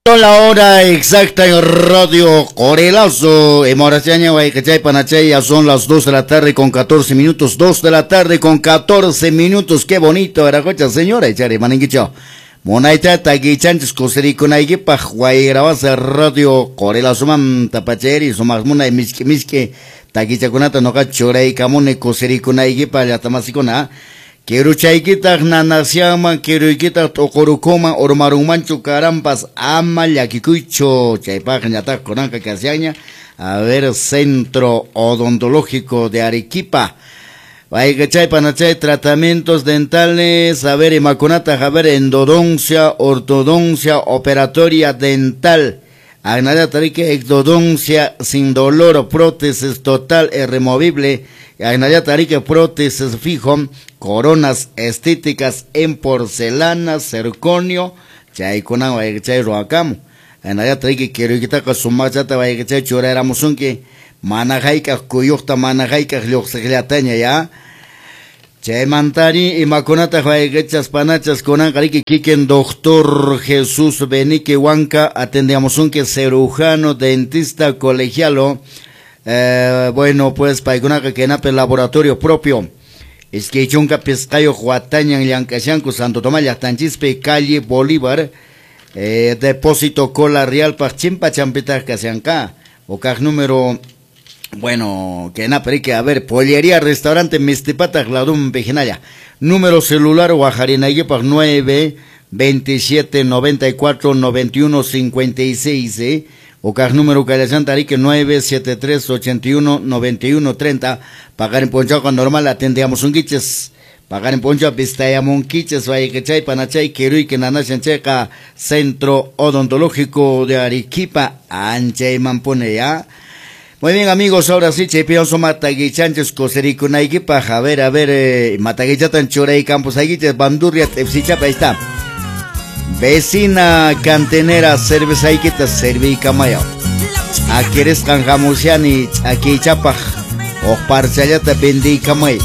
La hora exacta en Radio Corelazo. Emoraciaña, Guaycachay, Panachay, ya son las 2 de la tarde con 14 minutos. 2 de la tarde con 14 minutos. Qué bonito, Aracocha, señora. Echare, maninguicho. Monaita, taguichanchis, cosericunaiguipaj, guaygrabasa, Radio Corelazo, man, tapacheri, sumas muna, miski, miski, taguichakunata, noqa, churaykamuni, cosericunaiguipaj, llatamasicuna. Kiruchaykitaq nanasyanman, kiruykitaq t'uqurukuman, urmarunmanchu karampas, ama llakikuychu. Chaypaq ñataq kunanqa kasyanña. A ver, Centro Odontológico de Arequipa. Chay panachay tratamientos dentales, a ver, imakunata, a ver, endodoncia, ortodoncia, operatoria dental. Agnaya exodoncia sin dolor, prótesis total e removible. Agnaya tarique prótesis fijo, coronas estéticas en porcelana, circonio, chaykunan wayqichay ruwakamu. Agnaya tarique kiruykitaqa sumaqchata wayqichay churayramusunki, mana hayk'aq kuyuqta, mana hayk'aq lluqsiqllataña ya. Chaymantari imakunataq wayqichas panachas kunanqa riki kikin doctor Jesús Benique Huanca atendiamusunki cirujano, dentista, colegialo. Bueno, pues paykunaqa kaynapi laboratorio propio. Iskay chunka pisqayuq watañan llank'ashanku Santo Tomás llaqtanchispi calle Bolívar, depósito Cola Real paq chimpa champitaq kashanqa. Ukaq número, bueno, que na, pero que a ver, pollería, restaurante Mistipataq ladumpi hinalla. Número celular wajarinaykipaq 9 27 94 91 56, Ukaq número kallashanta arique 9 73 81 91 30. Pagar en ponchaco normal atendíamos un quiches. Pagar en poncho vistayamonquiches, vayquechay, panachay, queruyque, nanashancheca, Centro Odontológico de Arequipa, Anchay Mampone, ya. Muy bien, amigos, ahora sí, chaypionso mataguichanches, cosericunaykipaj, a ver, mataguichatan churay campos aguiches, bandurria, tepsichapa, ahí está. Vecina cantinera, cervezaiquita, servicamayo. Aquieres canjamusiani, aquí chapaj, o parchayata vendicamay.